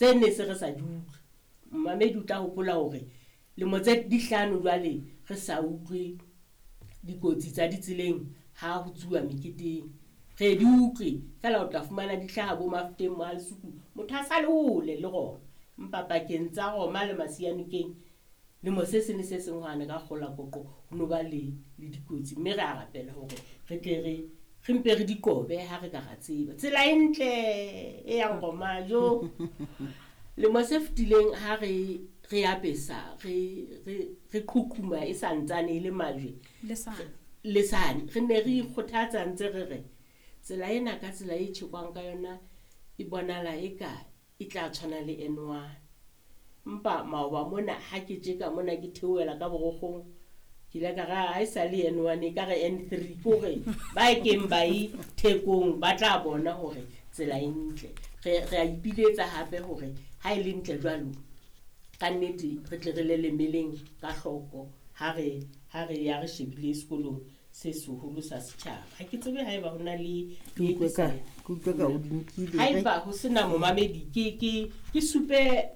Tse nne se re sa di utlwe. Momamedi o tla hopola hore lemo tse di hlano jwale re sa utlwe dikotsi tsa ditseleng ha ho tsuwa meketeng. Re di utlwe feela o tla fumana di hlaha bo Mafeteng, Mohalesuku, motho a sa le hole le Roma. Empa pakeng tsa Roma le Masianokeng lemo se seng le se seng hwane ka kgola koqo ho no ba le le dikotsi, mme re a rapela hore re tle re re mpe re di qobe ha re ka ra tseba. Tsela e ntle e yang Roma jo. Lemo se fetileng ha re re apesa re re re qhuqhuma e santsane e le majwe le sane re ne re ikgothatsa ntse re re tsela ena ka tsela e tjhekwang ka yona e bonala eka e tla tshwana le N1. Empa maoba mona ha ke tjeka mona ke theohela ka borokgong, ke ile ka re ha e sa le N1 e ka re N3, ke hore ba e keng ba e thekong ba tla bona hore tsela e ntle. Re a ipiletsa hape hore ha e le ntle jwalo ka nnete re tle re lelemeleng ka hloko ha re ya re shebile sekolong se seholo sa setjhaba. Ha ke tsebe haeba ho na le Ke utlwe ka o di nkile. Haeba ho sena momamedi ke supe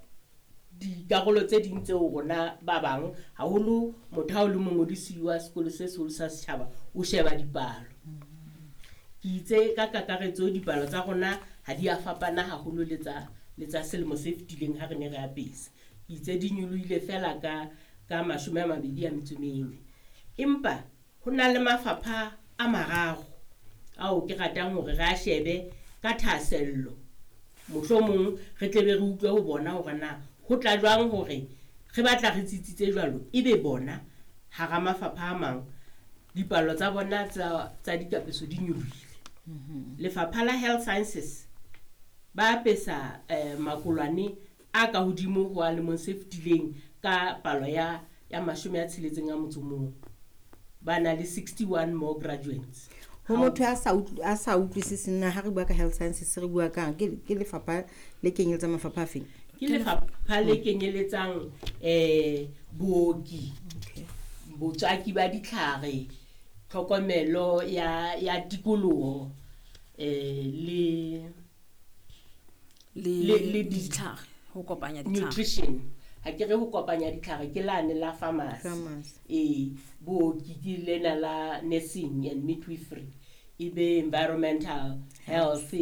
dikarolo tse ding tseo rona ba bang haholo motho ha o le mongodisi wa sekolo se seholo sa setjhaba o sheba dipalo. Ke itse ka kakaretso dipalo tsa rona ha di a fapana haholo le tsa selemo se fetileng ha re ne re apesa. Ke itse di nyolohile feela ka 24. Empa ho na le mafapha a mararo ao ke ratang hore re a shebe ka thahasello. Mohlomong re tle be re utlwe ho bona hore na ho tla jwang hore re batla re tsitsitse jwalo ebe bona hara mafapha a mang dipalo tsa bona tsa dikapeso di nyolohile. Lefapha la Health Sciences ba apesa makolwane a ka hodimo ho a lemong se fetileng ka palo ya 61. Ba na le 61 more graduates. Ho motho a sa utlwisiseng na ha re bua ka health sciences re bua kang, ke lefapha le kenyeletsang mafapha a feng? Ke lefapha le kenyeletsang booki, botswaki ba ditlhare, tlhokomelo ya tikoloho, le ditlhare, ho kopanya ditlhare. Nutrition. Ha ke re ho kopanya ditlhare ke lane la pharmacy. Booki ke lena la nursing and midwifery, e be environmental health,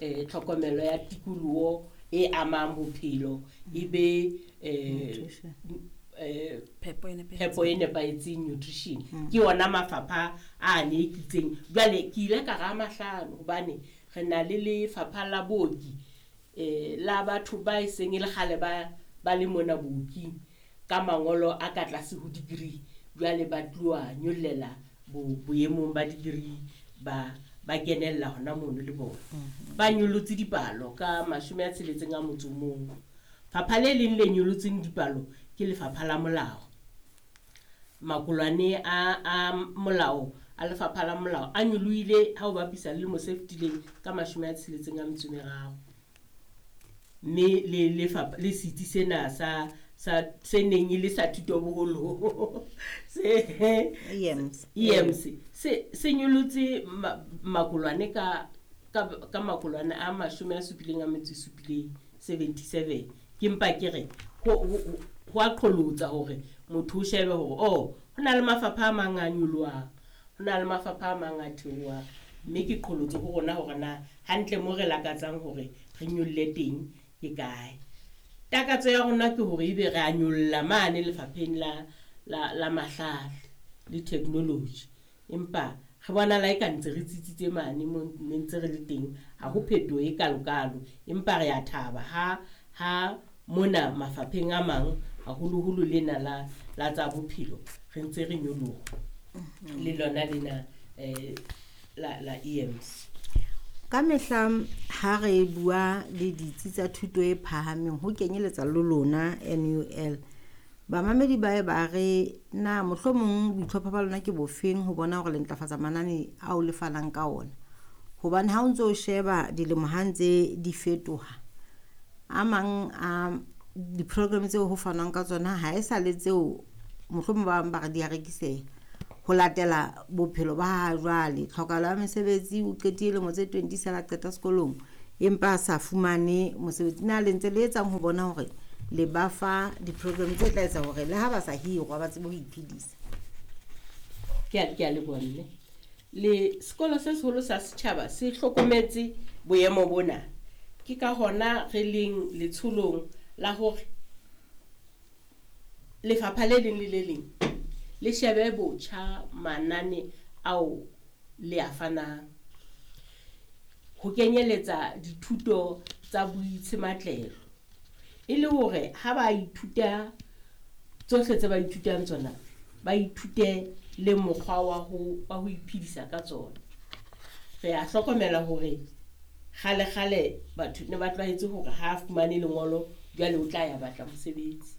tlhokomelo ya tikoloho e amang bophelo, e be phepo e nepahetseng, nutrition. Ke ona mafapha a ne kitseng. Jwale ke ile ka ra mahlano hobane re na le lefapha la booki, la batho ba e seng e le kgale ba le mona booking ka mangolo a ka tlase ho degree, jwale ba tloha nyollela boemong ba degree ba kenella hona mono le bona. Ba nyollotse dipalo ka 61. Fapha le leng le nyolotseng dipalo ke lefapha la molao. Makolwane a molao a lefapha la molao a nyolohile ha o bapisa le lemo se fetileng ka 63. Mme le lefapha le setsi sena sa se neng e le sa thuto boholo se EMS se nyolotse makolwane ka makolwane a 77, 77. Ke mpa ke re ho a qholotsa hore motho o shebe hore ho na le mafapha a mang a nyolohang, ho na le mafapha a mang a theohang, mme ke qholotso ho rona hore na hantle mo re lakatsang hore re nyolle teng ke kae. Takatso ya rona ke hore ebe re a nyolla mane lefapheng la mahlale le technology, empa re bona la e ka ntse re tsitsitse mane mo ne ntse re le teng, ha ho phetoho e kalokalo, empa re a thaba ha mona mafapheng a mang haholoholo lena la tsa bophelo re ntse re nyoloha le lona lena la EMS. Ka mehla ha re bua le ditsi tsa thuto e phahameng ho kenyeletsa le lona NUL, bamamedi ba ba re na mohlomong boitlhopho ba lona ke bofeng ho bona hore le ntlafatsa manane ao le fanang ka ona, hobane ha o ntso o sheba dilemo ha ntse di fetoha, a mang a di-program tseo ho fanwang ka tsona ha e sa le tseo mohlomong ba bang ba re di a rekiseha ho latela bophelo ba ha jwale. Tlhokahalo ya mesebetsi, o qetile lemo tse 20 sala qeta sekolong, empa a sa fumane mosebetsi. Na le ntse le etsang ho bona hore le ba fa di-program tse tla etsa hore le ha ba sa hirwa ba tsebe ho iphedisa? Ke a leboha mme. Le sekolo se seholo sa setjhaba se hlokometse boemo bona. Ke ka hona re leng letsholong la hore lefapha le leng le le leng le shebe botjha manane ao le a fanang, ho kenyeletsa dithuto tsa boitshematlelo, e le hore ha ba ithuta tsohle tse ba ithutang tsona, ba ithute le mokgwa wa ho iphedisa ka tsona. Re a hlokomela hore kgale-kgale batho ne ba tlwaetse hore ha fumane lengolo jwale o tla ya batla mosebetsi.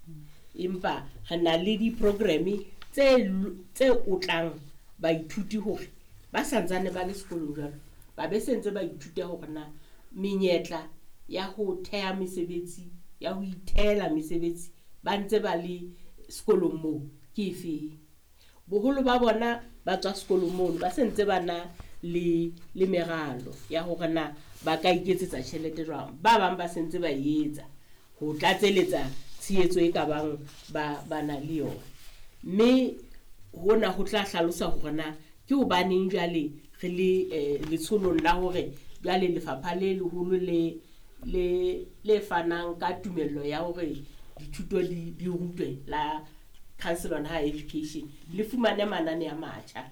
Empa re na le di-programme tse otlang baithuti hore ba santsane ba le sekolong jwalo, ba be se ntse ba ithuta hore na menyetla ya ho theha mesebetsi, ya ho ithehela mesebetsi ba ntse ba le sekolong moo ke efeng. Boholo ba bona ba tswa sekolong mono ba se ntse ba na le meralo ya hore na ba ka iketsetsa tjhelete jwang. Ba bang ba se ntse ba etsa ho tlatseletsa tshehetso e ka bang ba na le yona. Mme hona ho tla hlalosa hore na ke hobaneng jwale re le letsholong la hore jwale lefapha le leholo le fanang ka tumello ya hore dithuto di rutwe la Council on Higher Education le fumane manane a matjha.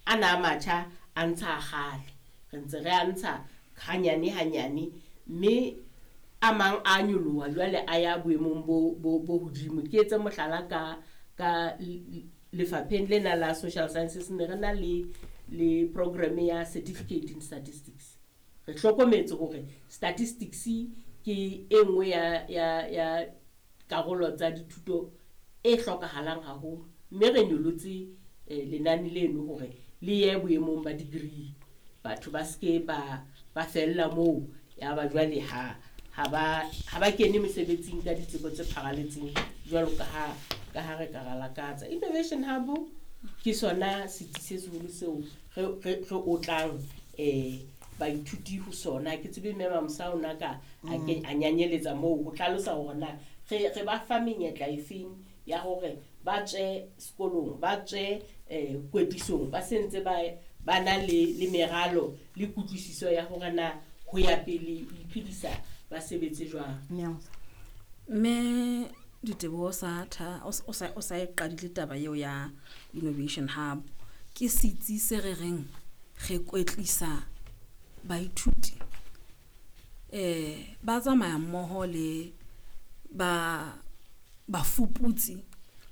Ana a matjha a ntsha kgale, re ntse re a ntsha hanyane hanyane, mme a mang a nyoloha jwale a ya boemong bo hodimo. Ke etse mohlala ka lefapheng lena la social sciences, ne re na le program ya certificate in statistics. Re hlokometse hore statistics ke e nngwe ya karolo tsa dithuto e hlokahalang haholo, mme re nyolotse lenane leno hore le ye boemong ba degree. Batho ba seke ba fella moo ya ba jwale ha ba kene mesebetsing ka ditsebo tse pharaletseng jwalo ka ha re ka ra lakatsa. Innovation Hub ke sona setsi se seholo seo re otlang baithuti ho sona. Ke tsebe mme Mamosa o na ka a nyanyeletsa moo ho hlalosa hore na re ba fa menyetla efeng ya hore ba tswe sekolong, ba tswe kwetlisong, ba se ntse ba na le meralo le kutlwisiso ya hore na ho ya pele ho iphedisa ba sebetse jwang. Mme Diteboho sa o sa e qadile taba eo ya Innovation Hub. Ke setsi se re reng re kwetlisa baithuti ba tsamaya mmoho le ba bafuputsi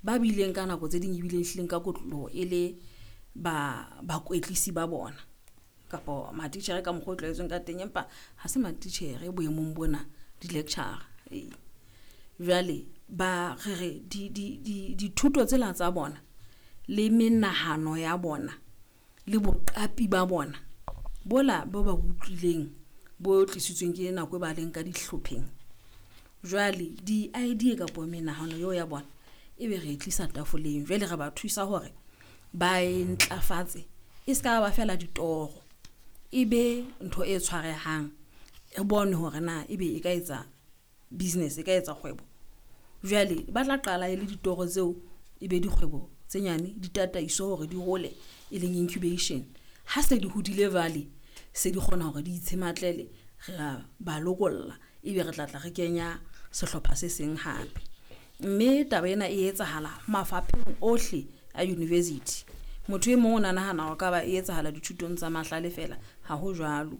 ba bileng ka nako tse ding ebileng hlileng ka kotloloho e le ba bakwetlisi ba bona kapa matitjhere ka mokgwa o tlwaetsweng ka teng, empa ha se matitjhere boemong bona, di-lecturer. Jwale ba re re dithuto tsela tsa bona le menahano ya bona le boqapi ba bona bola bo ba utlwileng bo tlisitsweng ke nako e ba leng ka dihlopheng. Jwale di-idea kapa menahano eo ya bona ebe re e tlisa tafoleng, jwale re ba thusa hore ba e ntlafatse, e ska ba fela ditoro, e be ntho e tshwarehang, re bone hore na ebe e ka etsa business, e ka etsa kgwebo. Jwale ba tla qala e le ditoro tseo e be dikgwebo tse nyane, di tataiso hore di hole, e leng incubation. Ha se di hodile jwale se di kgona hore di itshematlele, re a ba lokolla, ebe re tla tla re kenya sehlopha se seng hape. Mme taba ena e etsahala mafapheng ohle a university. Motho e mong o nahana hore ka ba e etsahala dithutong tsa mahlale fela, ha ho jwalo.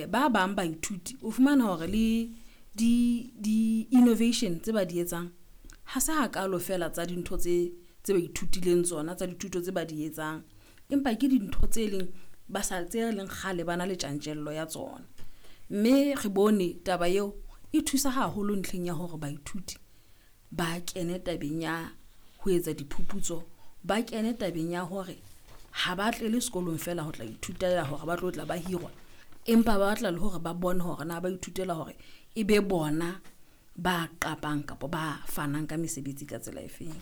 Ba bang baithuti o fumana hore le di innovation tse ba di etsang ha se hakalo fela tsa dintho tse ba ithutileng tsona, tsa dithuto tse ba di etsang, empa ke dintho tse leng ba sa tse leng kgale ba na le tjantjello ya tsona. Mme re bone taba eo e thusa haholo ntlheng ya hore baithuti ba kene tabeng ya ho etsa diphuputso, ba kene tabeng ya hore ha ba tlele sekolong fela ho tla ithutela hore ba tlo tla ba hirwa, empa ba batla le hore ba bone hore na ba ithutela hore e be bona ba qapang kapa ba fanang ka mesebetsi ka tsela efeng.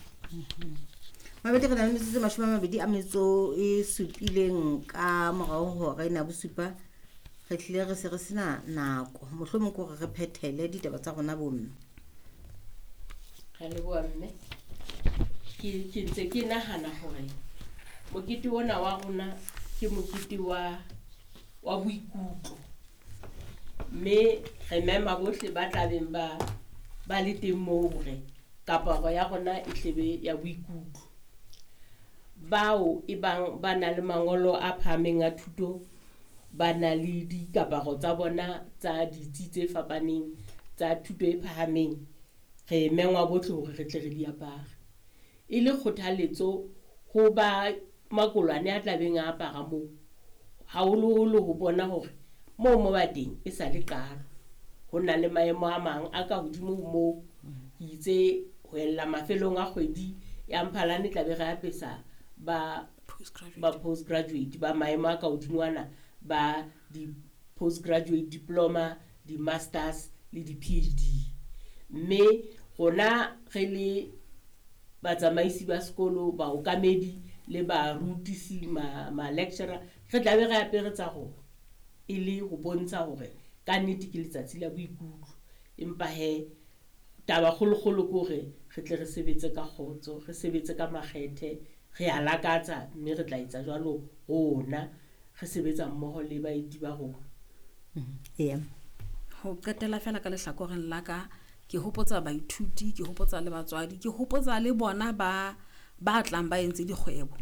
Mabedi re na le metsotso 27 ka morao hore na bosupa. Re tlile re se re sena nako, mohlomong ke hore re phethele ditaba tsa rona bomme. Re leboha mme. Ke ntse ke nahana hore mokete ona wa rona ke mokete wa boikutlo. Mme re mema bohle ba tlabeng ba le teng moo hore kaparo ya rona e hlebe ya boikutlo. Bao e bang ba na le mangolo a phahameng a thuto, ba na le dikaparo tsa bona tsa ditsi tse fapaneng tsa thuto e phahameng, re mengwa bohle hore re tle re di apare. E le kgothaletso ho ba makolwane a tlabeng a apara moo, haholoholo ho bona hore moo mo ba teng e sa le qalo. Ho na le maemo a mang a ka hodimo ho moo. Ke itse ho ella mafelong a kgwedi ya Mphalane tla be re apesa ba postgraduate ba maemo a ka hodimo ana, ba di-postgraduate diploma, di-masters le di-PhD. Mme rona re le batsamaisi ba sekolo, baokamedi le barutisi, ma-lecturer, re tla be re apere tsa rona e le ho bontsha hore ka nnete ke letsatsi la boikutlo. Empa he taba kgolokgolo ke hore re tle re sebetse ka kgotso, re sebetse ka makgethe, re a lakatsa mme re tla etsa jwalo rona, re sebetsa mmoho le baeti ba rona. Eya. Ho qetela fela ka lehlakoreng la ka, ke hopotsa baithuti, ke hopotsa le batswadi, ke hopotsa le bona ba tlang ba entse dikgwebo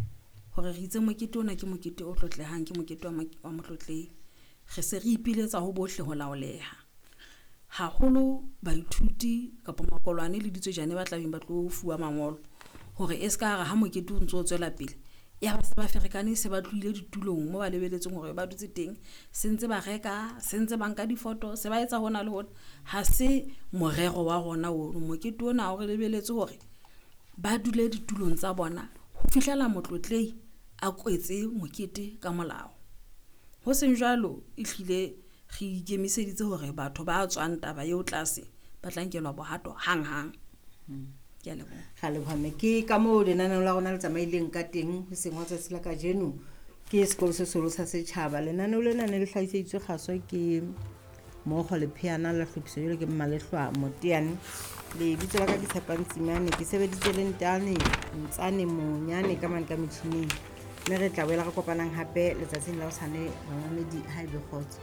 hore re itse mokete ona ke mokete o tlotlehang, ke mokete wa motlotlehi. Re se re ipiletsa ho bohle ho laoleha. Haholo baithuti kapa makolwane le ditswejane ba tlabeng ba tlo fuwa mangolo hore e ska re ha mokete o ntso o tswela pele, ya ba se ba ferekane, se ba tlohile ditulong moo ba lebeletseng hore ba dutse teng, se ntse ba reka, se ntse ba nka difoto, se ba etsa hona le hona. Ha se morero wa rona ono. Mokete ona o re lebeletse hore ba dule ditulong tsa bona ho fihlela motlotlehi a kwetse mokete ka molao. Ho seng jwalo, ehlile re ikemiseditse hore batho ba tswang taba eo tlase ba tla nkelwa bohato hang-hang. Ke a leboha. Ra leboha mme. Ke ka moo lenaneo la rona le tsamaileng ka teng hoseng hwa tsatsi la kajeno ke sekolo se seholo sa setjhaba. Lenaneo lena ne le hlahiseditswe kgaso ke Mokgo Lepheana, la hlophiso jwalo ke Mmalehlwa Moteane. Lebitso la ka ke Tshepang Tsimane, ke sebeditse le Ntane Ntsane Monyane ka mane ka metjhining. Mme re tla boela re kopanang hape letsatsing la hosane, bamamedi, ha ebe kgotso.